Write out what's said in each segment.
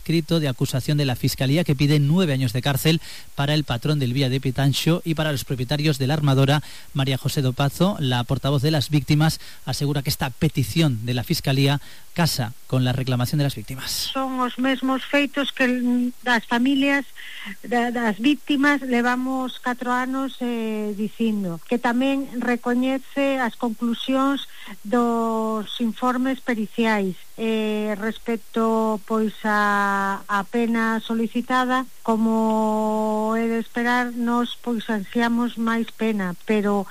escrito de acusación de la Fiscalía que pide 9 años de cárcel para el patrón del Vía de Pitanxo y para los propietarios de la armadora. María José Dopazo, la portavoz de las víctimas, asegura que esta petición de la Fiscalía casa con la reclamación de las víctimas. Son os mesmos feitos que das familias das víctimas levamos 4 anos dicindo, que tamén recoñece as conclusións dos informes periciais respecto pois a pena solicitada. Como é de esperar, nos pois ansiamos máis pena, pero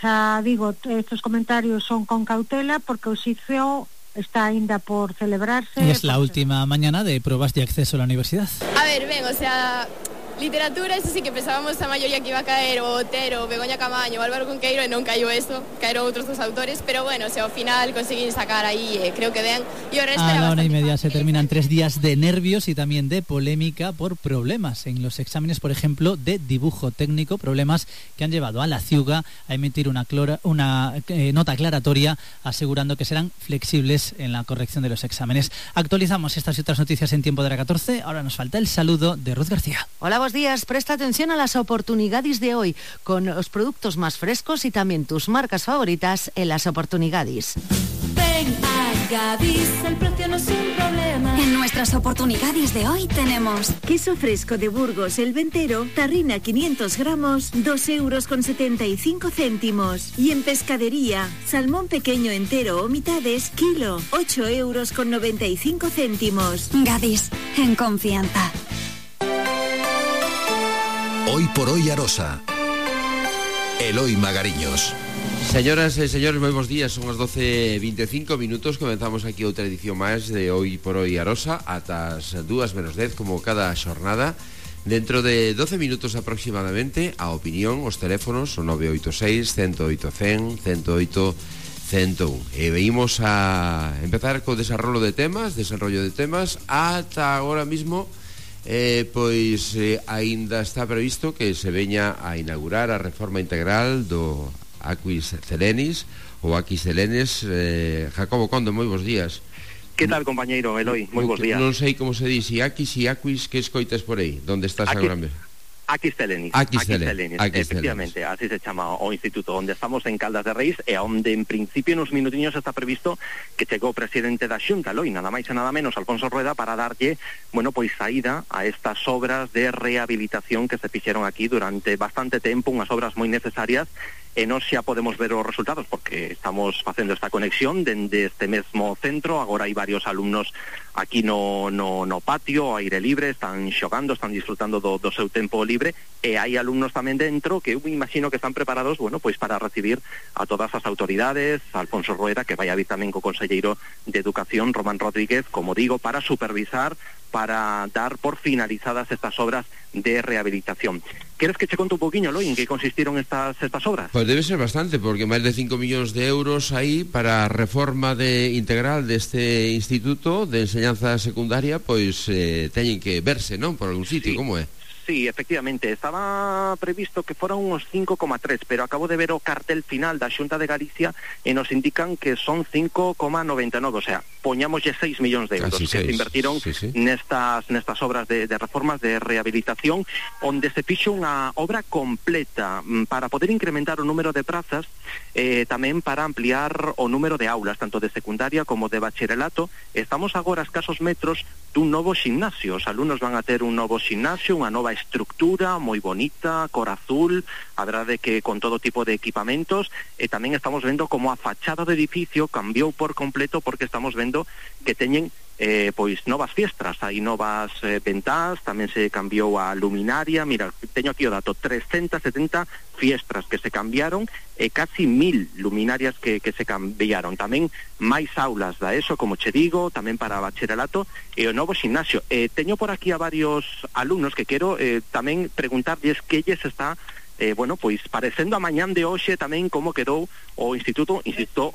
xa digo, estos comentarios son con cautela porque o xuízo está ainda por celebrarse. Y es la última mañana de pruebas de acceso a la universidad. A ver, o sea, literatura, eso sí que pensábamos a maioría que iba a caer o Otero, Begoña Camaño, Álvaro Cunqueiro, e non caiu eso, caeron outros dos autores, pero bueno, ao final conseguín sacar aí, creo que ben, e o resto a era la 1:30 bastante se terminan 3 días de nervios y también de polémica por problemas en los exámenes, por ejemplo, de dibujo técnico, problemas que han llevado a la CIUGA a emitir una nota aclaratoria asegurando que serán flexibles en la corrección de los exámenes. Actualizamos estas y otras noticias en tiempo de la 14, ahora nos falta el saludo de Ruth García. Hola, buenos días. Presta atención a las oportunidades de hoy con los productos más frescos y también tus marcas favoritas en las oportunidades. Ven a Gadis, el precio no es un problema. En nuestras oportunidades de hoy tenemos queso fresco de Burgos, el ventero, tarrina 500 gramos, 2,75 €. Y en pescadería, salmón pequeño entero o mitades, kilo, 8,95 €. Gadis, en confianza. Hoy por hoy Arosa. Eloi Magariños. Señoras e señores, moi bons días. Son as 12:25. Comenzamos aquí outra edición máis de Hoy por hoy Arosa ata as 2:10 como cada xornada. Dentro de 12 minutos aproximadamente, a opinión, os teléfonos son 986 108 100 108 101. E veimos a empezar co desarrollo de temas ata agora mismo. Aínda está previsto que se veña a inaugurar a reforma integral do Aquis Celenis ou Aquis Celenes. Jacobo Conde, moi bons días. Que tal, compañeiro Eloi? Moi bons días. Non sei como se di, si Aquis e Aquis, que escoitas por aí? Donde estás agora mesmo? Aquis Celenis, efectivamente, así se chama o instituto onde estamos en Caldas de Reis e onde en principio nos minutiños está previsto que chegou o presidente da Xunta, Eloi, nada máis e nada menos, Alfonso Rueda, para darlle, saída a estas obras de rehabilitación que se fixeron aquí durante bastante tempo, unhas obras moi necesarias. E nós xa podemos ver os resultados porque estamos facendo esta conexión dende este mesmo centro. Agora hai varios alumnos aquí no patio, ao aire libre, están xogando, están disfrutando do seu tempo libre, e hai alumnos tamén dentro que eu imagino que están preparados, para recibir a todas as autoridades, a Alfonso Rueda, que vai a vir tamén co conselleiro de Educación, Román Rodríguez, como digo, para supervisar, para dar por finalizadas estas obras de rehabilitación. Queres que che conte un poquinho, Eloi, en que consistiron estas obras? Pois debe ser bastante, porque máis de 5 millóns de euros aí para a reforma integral deste instituto de enseñanza secundaria, teñen que verse, non? Por algún sitio, como é? Sí, efectivamente, estaba previsto que foran unos 5,3, pero acabo de ver o cartel final da Xunta de Galicia e nos indican que son 5,99, o sea, poñámoslle 6 millóns de euros que se invertiron nestas obras de reformas de rehabilitación, onde se fixo unha obra completa para poder incrementar o número de prazas, tamén para ampliar o número de aulas, tanto de secundaria como de bacharelato. Estamos agora a escasos metros dun novo ximnasio. Os alumnos van a ter un novo ximnasio, unha nova estructura moi bonita, cor azul, a verdade que con todo tipo de equipamentos, e tamén estamos vendo como a fachada do edificio cambiou por completo, porque estamos vendo que teñen novas fiestras, hai novas ventás, tamén se cambiou a luminaria. Mira, teño aquí o dato, 370 fiestras que se cambiaron e casi 1000 luminarias que se cambiaron. Tamén máis aulas da ESO, como che digo, tamén para bacharelato e o novo ximnasio. Teño por aquí a varios alumnos que quero tamén preguntarlles que lles está parecendo a mañán de hoxe tamén como quedou o instituto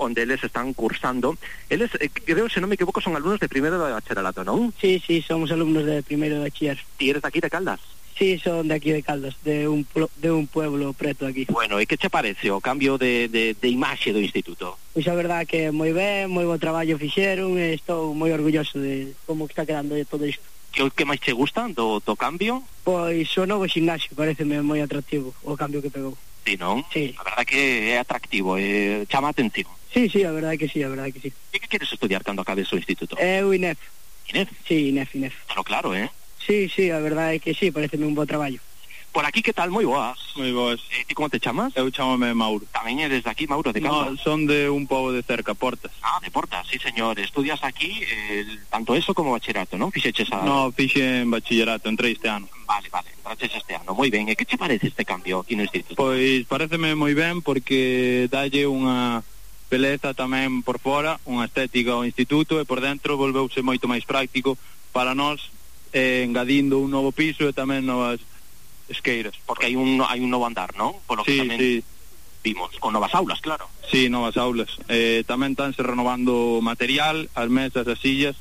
onde eles están cursando. Eles, creo, se non me equivoco, son alumnos de primeiro de bacharelato, non? Sí, somos alumnos de primeiro de bachiller. Ti eres daqui de Caldas? Sí, son de aquí de Caldas, de un pueblo preto aquí. Bueno, e que che parece o cambio de imaxe do instituto? Pois a verdade que moi ben, moi bo traballo fixeron, e estou moi orgulloso de como está quedando todo isto. Que máis che gusta do cambio? Pois o novo ximnasio, pareceme moi atractivo o cambio que pegou. Sí, non? Sí. A verdade que é atractivo, chama a atención. Sí, a verdade que sí, E que queres estudiar cando acabes o instituto? O INEF. INEF? Sí, INEF. Claro, Sí, a verdade que sí, pareceme un bo traballo. Por aquí, que tal? Moi boas. Moi boas. Ti como te chamas? Eu chamame Mauro. Tamén eres de aquí, Mauro, de Caldas? No, son de un pobo de cerca, Portas. Ah, de Portas, sí, señor. Estudias aquí tanto eso como bachillerato, non? Fixeches a... No, fixe en bachillerato, entrei este ano. Vale, entraches este ano. Moi ben. E que che parece este cambio aquí no instituto? Pois pareceme moi ben porque dalle unha beleza tamén por fora, unha estética ao instituto, e por dentro volveuse moito máis práctico para nós, engadindo un novo piso e tamén novas esqueiras. Porque hai un novo andar, non? Por lo que tamén vimos, con novas aulas, claro. Sí, novas aulas. Tamén estánse renovando material, as mesas, as sillas,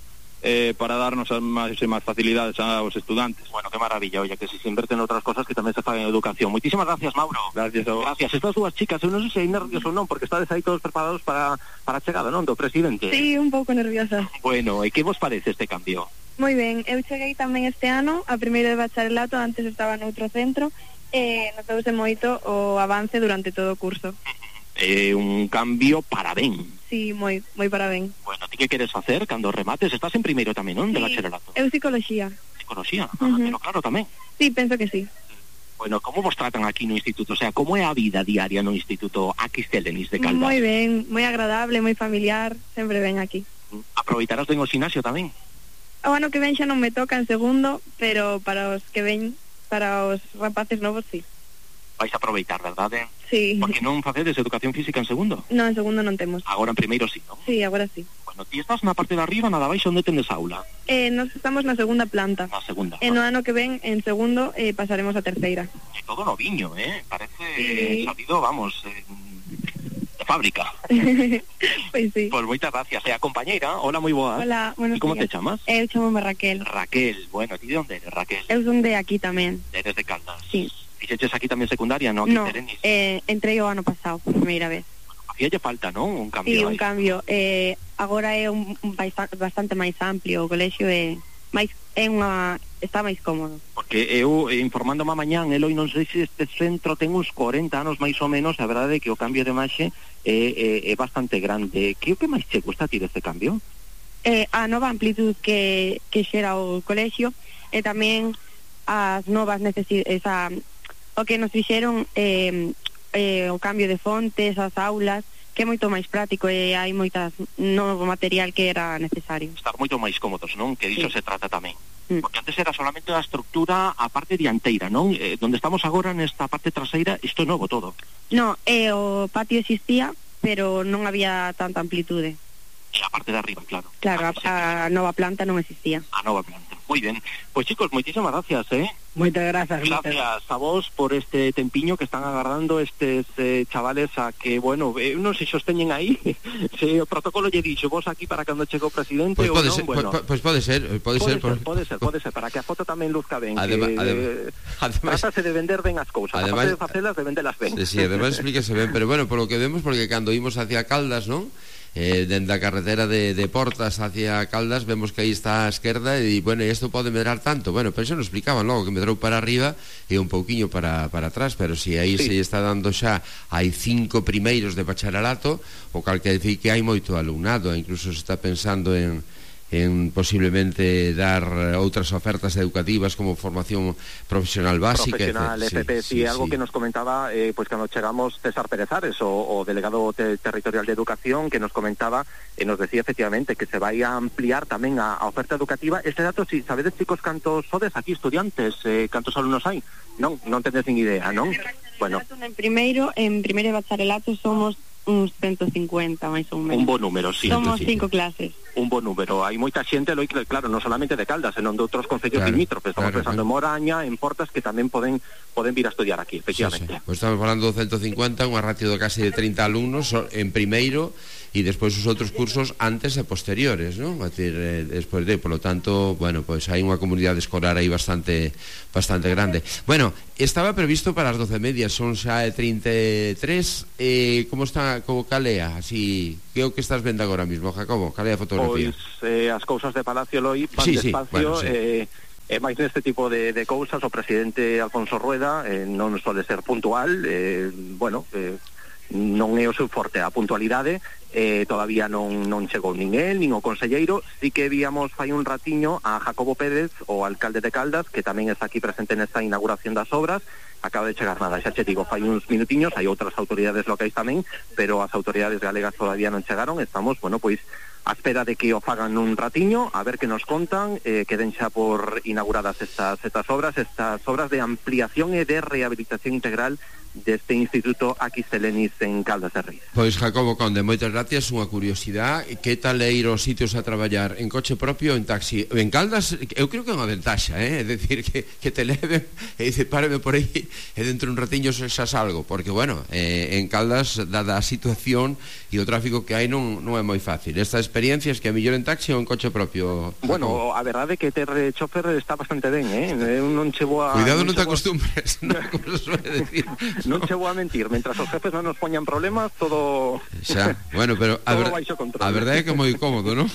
para darnos máis facilidades aos estudantes. Bueno, que maravilla, oye, que se inverten en outras cosas que tamén se fan en educación. Moitísimas gracias, Mauro. Gracias a vos. Gracias. Estas dúas chicas, eu non sei se hai nervios ou non, porque estades aí todos preparados para a chegada, non, do presidente. Sí, un pouco nerviosa. Bueno, e que vos parece este cambio? Moi ben, eu cheguei tamén este ano a primeiro de bacharelato, antes estaba noutro centro, e notouse moito o avance durante todo o curso. Un cambio para ben. Sí, moi para ben. Bueno, ti que queres facer cando remates? Estás en primeiro tamén, non? De bacharelato. Eu psicoloxía. Psicoloxía? Pero claro, tamén. Sí, penso que sí. Bueno, como vos tratan aquí no instituto? O sea, como é a vida diaria no instituto Aquistel-Denis de Caldas? Moi ben, moi agradable, moi familiar, sempre ben aquí. Aproveitarás ben o ximnasio tamén? O ano que ven xa non me toca en segundo, pero para os que ven, para os rapaces novos, sí. Vais a aproveitar, verdade? Sí. Porque non facedes educación física en segundo? Non, en segundo non temos. Agora en primeiro sí, non? Sí, agora sí. Bueno, ti estás na parte de arriba, nada baixo, onde tendes aula? Nos estamos na segunda planta. Na segunda. E no ano que ven, en segundo, pasaremos a terceira. E todo noviño, Parece salido, vamos, de fábrica. Pois sí. Pois moitas gracias. E a compañeira, hola, moi boa. Hola, buenos días. E como te chamas? Eu chamome Raquel. Raquel, bueno, ti de onde eres, Raquel? Eu son de aquí tamén. Eres de Caldas? Sí. Fixeches aquí tamén secundaria, non? No, entrei o ano pasado, por primeira vez. Facíalle falta, non? Un cambio. Sí, un cambio. Agora é bastante máis amplio o colexio, está máis cómodo. Porque eu, informándome a mañán, Eloi, non sei se este centro ten uns 40 anos máis ou menos, a verdade é que o cambio de imaxe é bastante grande. Que o que máis che gusta a ti deste cambio? A nova amplitud que xera o colexio, e tamén as novas necesidades, o que nos fixeron o cambio de fontes, as aulas, que é moito máis práctico e hai moitas novo material que era necesario. Estar moito máis cómodos, non? Que diso se trata tamén. Porque antes era solamente a estructura a parte dianteira, non? Donde estamos agora nesta parte traseira, isto é novo todo. No, o patio existía, pero non había tanta amplitude. E a parte de arriba, claro. Claro, a nova planta non existía. A nova planta. Moi ben. Pois chicos, moitísimas gracias, Moitas grazas. Gracias a vos por este tempiño que están agardando estes chavales a que, bueno, non se sosteñen aí. Se o protocolo lle dixo vos aquí para cando chegou o presidente ou non, ser, bueno. Pois pode ser, pode ser, para que a foto tamén luzca ben. Además, trátase de vender ben as cousas, aparte de facelas, de vendelas ben. Sí, además explíquese ben, pero bueno, por lo que vemos, porque cando imos hacia Caldas, non? Dende a carretera de Portas hacia Caldas vemos que aí está a esquerda e, bueno, isto pode medrar tanto, bueno, pero xa nos explicaban logo que medrou para arriba e un pouquiño para atrás, pero si aí se está dando xa hai 5 primeiros de bacharelato, o cal que decir que hai moito alumnado, incluso se está pensando en posiblemente dar outras ofertas educativas como formación profesional básica, profesional, FP, sí, algo que nos comentaba pues cando chegamos César Pérez Ares, o delegado territorial de educación, que nos comentaba e nos decía efectivamente que se vai a ampliar tamén a oferta educativa. Este dato, si sabedes, chicos, cantos sodes aquí estudiantes, cantos alumnos hai? Non tedes nin idea, non? Bueno, en primeiro de bacharelato somos uns 150, máis ou menos. Un bo número, sí. Somos 5 clases. Un bo número. Hai moita xente, claro, non solamente de Caldas, senón de outros concellos limítrofes. Estamos pensando en Moraña, en Portas, que tamén poden vir a estudiar aquí, efectivamente. Pues estamos falando de 150, unha ratio de casi de 30 alumnos en primeiro, e despois os outros cursos antes e posteriores, non? É dicir, despois por lo tanto, bueno, pois hai unha comunidade escolar aí bastante grande. Bueno, estaba previsto para as 12:30, son xa 33, como está, como calea, así, que é o que estás vendo agora mismo, Jacobo? Calea a fotografía? Europea. Pois as cousas de Palacio Loi van despacio, e máis neste tipo de cousas o presidente Alfonso Rueda non suele ser puntual, non é o seu forte a puntualidade, todavía non chegou nin el, nin o conselleiro. Sí que víamos fai un ratiño a Jacobo Pérez, o alcalde de Caldas, que tamén está aquí presente nesta inauguración das obras. Acaba de chegar nada, xa che digo, fai uns minutiños, hai outras autoridades locais tamén, pero as autoridades galegas todavía non chegaron. Estamos, pois, a espera de que o fagan un ratiño, a ver que nos contan, queden xa por inauguradas estas obras de ampliación e de rehabilitación integral deste Instituto Aquistelenis en Caldas de Reis. Pois Jacobo Conde, moitas gracias. Unha curiosidade, que tal é ir aos sitios a traballar en coche propio ou en taxi? En Caldas, eu creo que é unha ventaxa, é dicir, que te leven e dice, páreme por aí e dentro un ratiño xa salgo, porque, en Caldas, dada a situación e o tráfico que hai, non é moi fácil. Esta experiencia es que a mellor en taxi ou en coche propio? Bueno, a verdade é que ter chofer está bastante ben, eu non chego a... Cuidado, non te acostumbres, como se suele decir. Non che vou a mentir, mentras os jefes non nos poñan problemas, todo... Xa, pero a verdade é que é moi cómodo, non?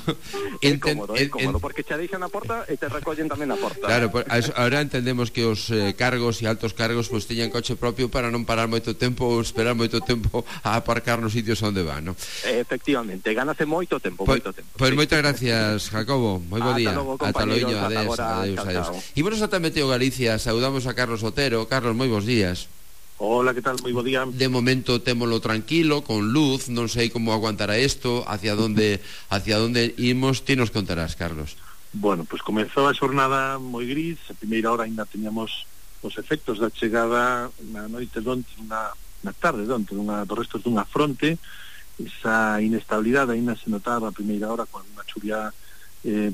É cómodo, porque che deixan na porta e te recollen tamén na porta. Claro, ahora entendemos que os cargos e altos cargos pois teñan coche propio para non parar moito tempo ou esperar moito tempo a aparcar nos sitios onde van, non? Efectivamente, ganase moito tempo. Pois moitas gracias, Jacobo, moi bo día. Ata loiño, adeus. Imos ata Meteo Galicia, saudamos a Carlos Otero. Carlos, moi bons días. Hola, que tal? Moi bo día. De momento témolo tranquilo, con luz, non sei como aguantará isto, hacia onde imos, ti nos contarás, Carlos. Bueno, pois comezou a xornada moi gris, a primeira hora ainda teníamos os efectos da chegada na noite donte, na tarde donte, dos restos dunha fronte. Esa inestabilidade ainda se notaba a primeira hora con unha chuvia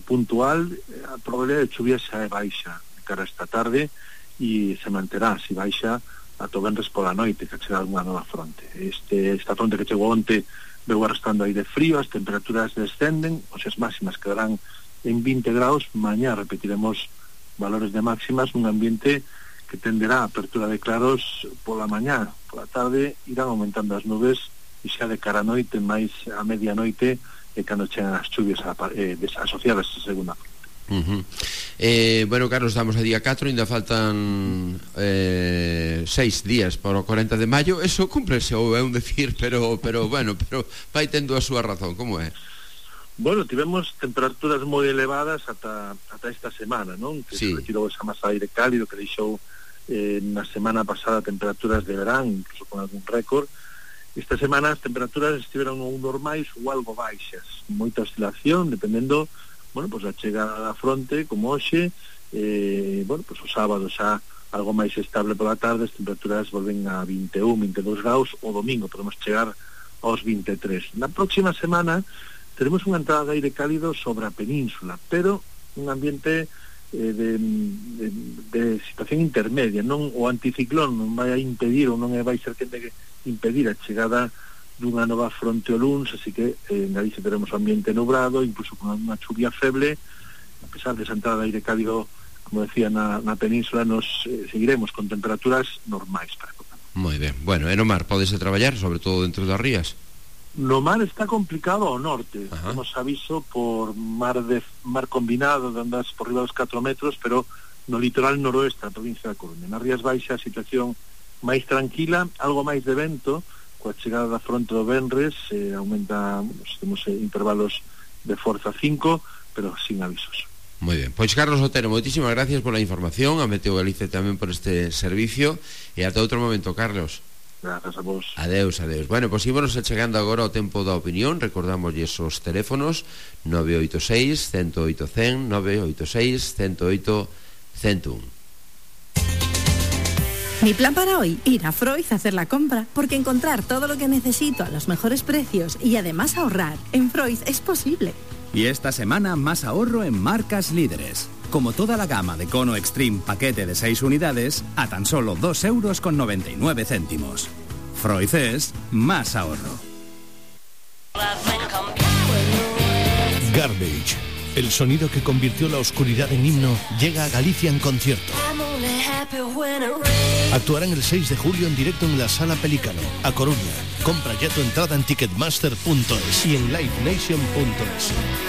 puntual. A probabilidade de chuvia xa é baixa de cara a esta tarde e se manterá, se baixa ata o venres pola noite, que chega unha nova fronte. Esta fronte que chegou onte veu arrastrando aire frío, as temperaturas descenden, as máximas quedarán en 20 graus, mañá repetiremos valores de máximas nun ambiente que tenderá a apertura de claros pola mañá, pola tarde irán aumentando as nubes e xa de cara a noite, máis a medianoite, cando chegan as chuvias asociadas a segunda fronte. Carlos, estamos a día 4, ainda faltan 6 días para o 40 de maio. Eso cúmplese, ou é un decir, pero vai tendo a súa razón. Como é? Bueno, tivemos temperaturas moi elevadas ata esta semana, non? Que se retirou esa masa de aire cálido que deixou na semana pasada temperaturas de verán, incluso con algún récord. Esta semana as temperaturas estiveron normais ou algo baixas, moita oscilación, dependendo a chegada da fronte, como hoxe, o sábado xa algo máis estable pola tarde, as temperaturas volven a 21, 22 graus, o domingo podemos chegar aos 23. Na próxima semana teremos unha entrada de aire cálido sobre a península, pero un ambiente de situación intermedia, non o anticiclón non vai a impedir ou non vai ser que impedir a chegada dunha nova fronte o luns, así que en Galicia teremos un ambiente nublado, incluso con unha chuvia feble. A pesar de esa entrada de aire cálido, como decía, na península, nos seguiremos con temperaturas normais para a época. Moi ben. E no mar podese traballar, sobre todo dentro das rías? No mar está complicado ao norte. Temos aviso por mar combinado de andas por riba dos 4 metros, pero no litoral noroeste da provincia da Coruña. Nas Rías Baixas a situación máis tranquila, algo máis de vento. Coa chegada da fronte do venres aumenta, temos intervalos de forza 5, pero sin avisos. Moi ben, pois Carlos Otero, moitísimas gracias pola información, a Meteo Galicia tamén por este servicio, e ata outro momento, Carlos. Grazas a vos. Adeus. Pois ímonos chegando agora ao tempo da opinión. Recordamos esos teléfonos 986 108 100, 986 108 101. Mi plan para hoy, ir a Freud a hacer la compra, porque encontrar todo lo que necesito a los mejores precios y además ahorrar en Freud es posible. Y esta semana más ahorro en marcas líderes, como toda la gama de Cono Extreme paquete de 6 unidades a tan solo 2,99 €. Freud es más ahorro. Garbage, el sonido que convirtió la oscuridad en himno, llega a Galicia en concierto. Actuarán el 6 de julio en directo en la Sala Pelícano, a Coruña. Compra ya tu entrada en ticketmaster.es y en livenation.es.